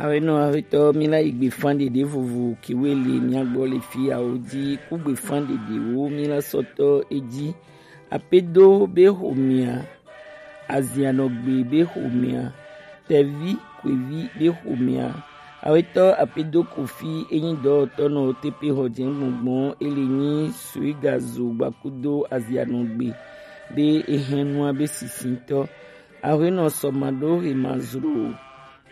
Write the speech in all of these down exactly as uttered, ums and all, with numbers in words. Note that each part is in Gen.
Awenɔ aƒetɔ, mi la yi gbefan ɖeɖe vovo kewe le mia gbɔ le fi yawo ji, ku gbefan ɖeɖewo mi la sɔtɔ eji. Apedo be xomea, azianɔgbe be xomea, tɛvi kwevi be xomea. Awetɔ Apedo Kofi enyi dɔwɔtɔnɔ tepe xɔ jɛ gbɔngbɔn, ele nyi suigazo gbakudo azianɔgbe be ehɛnua be sisintɔ. Awenɔ sɔma ɖo he ma zro.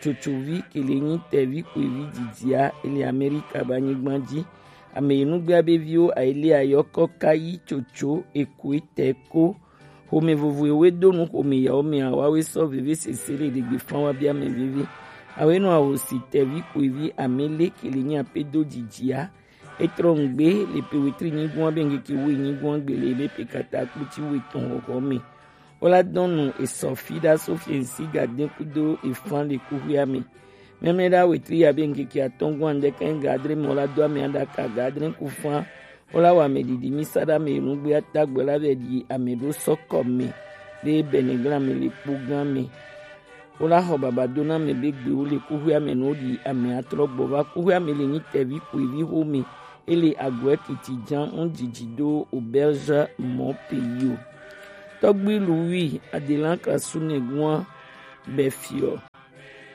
Tsotsovi ke le nyi tɛvi kwevi jijia, ele Amerika ba nyigban ji. Ame yi nugbea be viwo aile ayɔkɔ kayi tsotso ekoe tɛ ko. Xome vovo ewe do nu xome yawo mea, wawe sɔ veve sese le ɖegbe fan wa bia mɛ veve. Awe nɔ awo si tɛvi kwevi amele ke le nyi Apedo jijia. Etrɔ ngbe le pe wetri nyigɔn be ngeke we nyigɔn gbe le be pe kata kputi we tɔn xɔxɔ me. Wola dɔn nu esɔ fi ɖa so fiɛnsi gaden kudo efan le kuxuia me. Mɛmlɛ ɖa wetri ya be ngeke atɔn gɔn andɛ kɛn gadre me wola do ame aɖaka gadre kufan. Wola wa ame ɖiɖi mi sa ɖa me nugbe ata gbe la be ɖi ame ɖo sɔ kɔ me be bɛnɛ gla me le kpo gan me. Wola xɔ baba do na me be gbe wo le kuxuia me no ɖi ame atrɔ gbɔ va kuxuia me le nyi tɛvi kuivi xo me. Ele agɔɛ kiti jan un jiji do auberge mɔ peyo. Tɔgbi Louis adelan krasu ne gua bɛ fiɔ.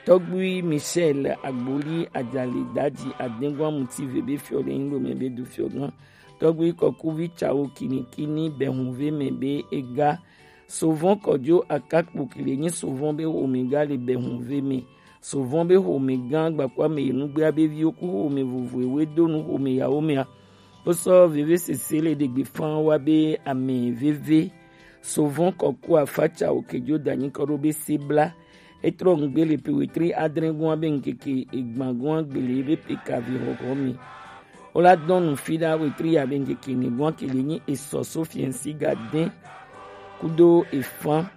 Tɔgbi Michel Agboli ajali daji adengua muti ve be fiɔ le yin lo me be du fiɔ gan. Tɔgbi kɔkuvi cawo kinikini bɛ hun ve me be ega. Sovɔn kɔjo akakpo kile nyi sovɔn be xome ga le bɛ hun ve me. Sovɔn be xome gan gbakua me yi nugbea be viwo ku xome vovo ewe do nu xome yawo mea. Wosɔ veve sese le ɖegbe fan wa be ame veve. Sovɔn kɔku afaca okejo danyi kɔ ɖo be se bla. Etrɔ ŋgbe le pe wetri adre gɔn be ŋkeke egban gɔn gbele be pe kavi xɔxɔ mi. Wola dɔn nu fi ɖa wetri ya be ŋkeke ni gɔn kele nyi esɔ so fiɛnsi ga den kudo efan.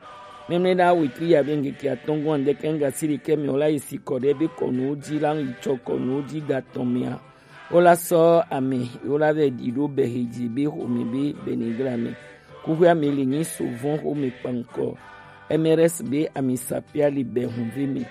Mɛmlɛ ɖa wetri ya be ŋkeke atɔn gɔn ɖe kɛn ga si ɖe kɛ mi wola yi si kɔ ɖe be kɔnuwo ji la yi tsɔ kɔnuwo ji ga tɔn mea. Wola sɔ ame wola vɛ ɖi ɖo bɛ he ji be xome be bɛnɛ gla me. Kuxuia me le nyi sovɔn xome kpankɔ. M R S be ami sapia li bɛ hun ve me.